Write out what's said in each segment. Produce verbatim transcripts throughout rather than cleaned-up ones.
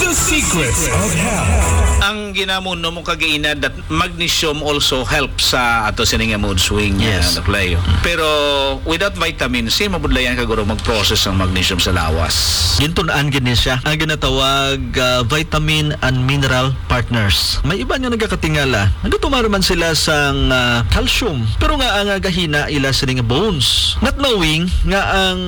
The Secrets of Health. Ang ginamon no mo kagaina that magnesium also helps sa ato sini nga mood swing, Yes. uh, Doc Leo. Pero without vitamin C, mabudlayan ka guro mag-process ang magnesium sa lawas. Gintun-an gid ni siya ang ginatawag, ah, vitamin and mineral partners. May iban nga nagakatingala, nagatumar man sila sang, ah, calcium, pero nga ang, ah, gahina ila sini nga bones. Not knowing nga ang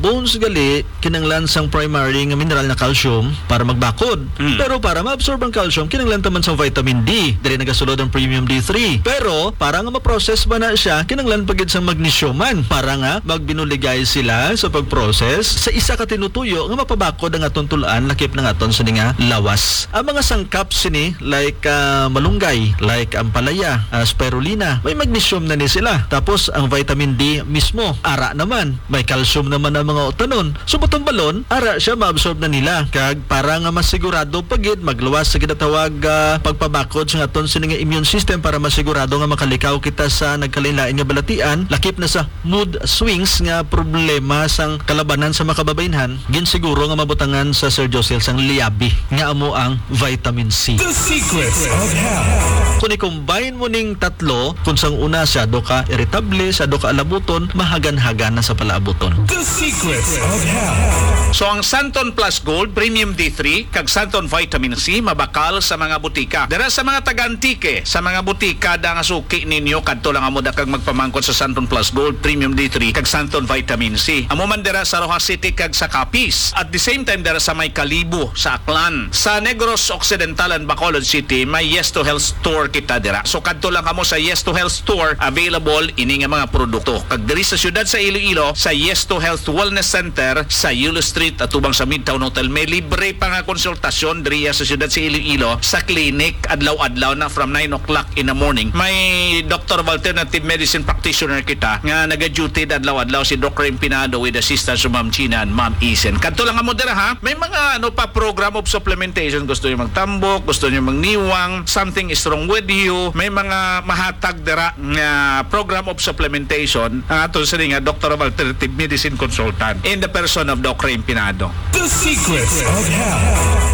bones gali kinanglan sang primary nga mineral nga calcium para magbakod. Mm. Pero para maabsorb ang calcium, kinanglan ta man sang vitamin D. Diri nagasulod ang premium D three. Pero para nga ma-process ba na siya, kinanglan pa gid sang magnesium man para nga magbinuligay sila sa pag-process sa isa ka tinutuyo nga mapabakod ang aton tul-an lakip ng aton sini nga lawas. Ang mga sangkap sini like, ah, malunggay, like ampalaya, ah, spirulina, may magnesium na ni sila. Tapos ang vitamin D mismo, ara naman, may calcium naman ang mga utanon. So, buton balon, ara siya maabsorb na nila. Kag para nga masigurado pa gid, magluwas sa ginatawag, ah, pagpabakod sa aton sini nga immune system para masigurado nga makalikaw kita sa nagkalain-lain nga balatian, lakip na sa mood swings nga problema sang kalabanan sa makababaynhan, ginsiguro nga mabutangan sa Sir Josel sang liabi nga amo ang vitamin C. The Secrets of Health. Kung i-combine mo ning tatlo, kung sang una siyado ka irritable, siyado ka alabuton, mahagan-hagan na sa palaabuton. The Secrets of Health. So ang Santon Plus Gold Premium D three kag Santon Vitamin C mabakal sa mga butika. Dira sa mga taga-Antique, sa mga butika da nga suki ninyo, kadto lang amo da kag magpamangkot sa Santon Plus Gold Premium D three kag Santon Vitamin C. Amo man dira sa Roxas City kag sa Capiz. At the same time dira sa may Kalibo, sa Aklan. Sa Negros Occidental and Bacolod City, may Yes to Health Store kita dira. So kadto lang kamo sa Yes to Health Store, available ini nga mga produkto. Kag diri sa siyudad sa Iloilo, sa Yes to Health Wellness Center sa Yulo Street, atubang sa Midtown Hotel, may libre pa nga konsultasyon diri sa siyudad sa Iloilo sa clinic adlaw-adlaw na from nine o'clock in the morning. May doctor of alternative medicine practitioner kita nga naga-duty adlaw-adlaw, si Doc Ray Pinado, with assistance of Ma'am Gina and Ma'am Isen. Kadto lang kamo dira, ha. May mga ano pa, program of supplementation. Gusto niyo magtambok, gusto niyo magniwang, something is wrong with you. May mga mahatag dira nga program of supplementation ang ato sini nga doctor of alternative medicine consultant in the person of Doc Ray Pinado. The Secrets of Health.